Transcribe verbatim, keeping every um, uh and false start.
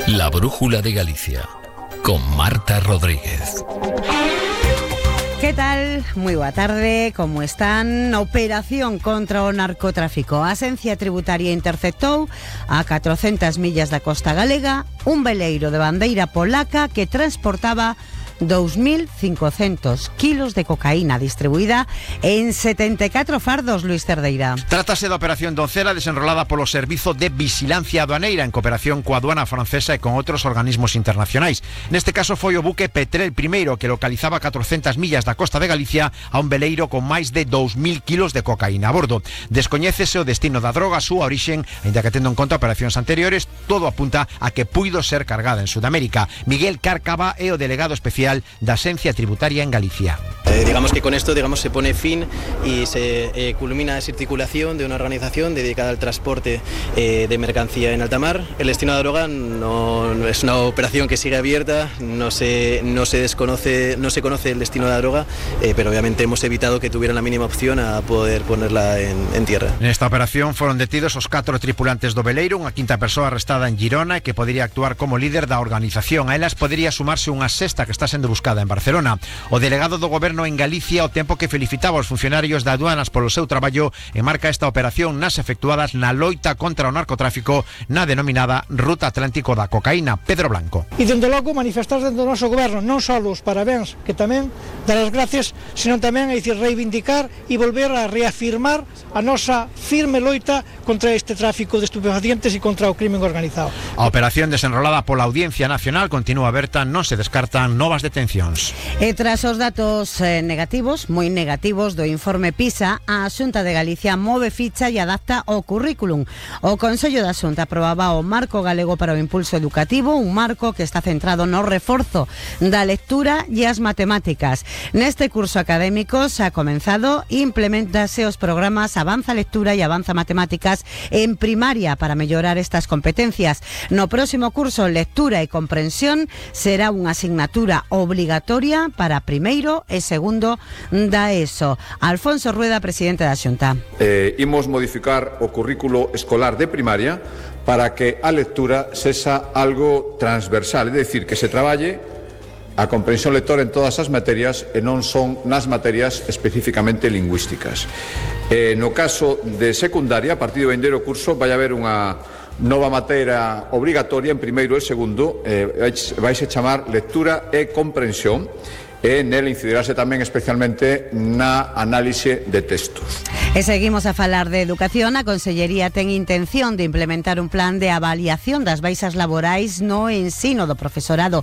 La Brújula de Galicia, con Marta Rodríguez. ¿Qué tal? Moi boa tarde, como están? Operación contra o narcotráfico. A Axencia Tributaria interceptou a catrocentas millas da costa galega un veleiro de bandeira polaca que transportaba dos mil cincocentos kilos de cocaína distribuída en setenta e catro fardos, Luis Cerdeira. Trátase da Operación Doncela desenrolada polo Servizo de Vigilancia Aduaneira en cooperación coa aduana francesa e con outros organismos internacionais. Neste caso foi o buque Petrel primeiro que localizaba catrocentas millas da costa de Galicia a un veleiro con máis de dos mil kilos de cocaína a bordo. Descoñécese o destino da droga, a súa orixen, aínda que tendo en conta operacións anteriores, todo apunta a que puido ser cargada en Sudamérica. Miguel Cárcava é o delegado especial da Axencia Tributaria en Galicia. Eh, digamos que con esto digamos se pone fin y se eh, culmina esa articulación de una organización dedicada al transporte eh, de mercancía en alta mar. El destino de la droga no, no es una operación que sigue abierta, no se, no se desconoce, no se conoce el destino de la droga, eh, pero obviamente hemos evitado que tuvieran la mínima opción a poder ponerla en, en tierra. Nesta operación foron detidos os catro tripulantes do veleiro, unha quinta persoa arrestada en Girona e que podería actuar como líder da organización. A elas podería sumarse unha sexta que está sendo buscada en Barcelona. O delegado do goberno en Galicia, ao tempo que felicitaba os funcionarios da aduanas polo seu traballo, enmarca esta operación nas efectuadas na loita contra o narcotráfico na denominada Ruta Atlántico da Cocaína. Pedro Blanco. E dende logo manifestar dentro do noso goberno non só os parabéns, que tamén dar as gracias, senón tamén é dicir reivindicar e volver a reafirmar a nosa firme loita contra este tráfico de estupefacientes e contra o crimen organizado. A operación desenrolada pola Audiencia Nacional continúa aberta, non se descartan novas detencións. E tras os datos eh, negativos, moi negativos do informe PISA, a Xunta de Galicia move ficha e adapta o currículum. O Consello da Xunta aprobaba o Marco Galego para o Impulso Educativo, un marco que está centrado no reforzo da lectura e as matemáticas. Neste curso académico se ha comenzado e implementase os programas Avanza Lectura e Avanza Matemáticas en primaria para mellorar estas competencias. No próximo curso, Lectura e Comprensión será unha asignatura obligatoria para primeiro e segundo da ESO. Alfonso Rueda, presidente da Xunta. Eh, imos modificar o currículo escolar de primaria para que a lectura sexa algo transversal, é dicir, que se traballe a comprensión lectora en todas as materias e non son nas materias especificamente lingüísticas. Eh, no caso de secundaria, a partir do vindeiro curso, vai haber unha nova materia obrigatoria en primeiro e segundo, eh, vais a chamar lectura e comprensión, e nel incidirase tamén especialmente na análise de textos. E seguimos a falar de educación. A Consellería ten intención de implementar un plan de avaliación das baixas laborais no ensino do profesorado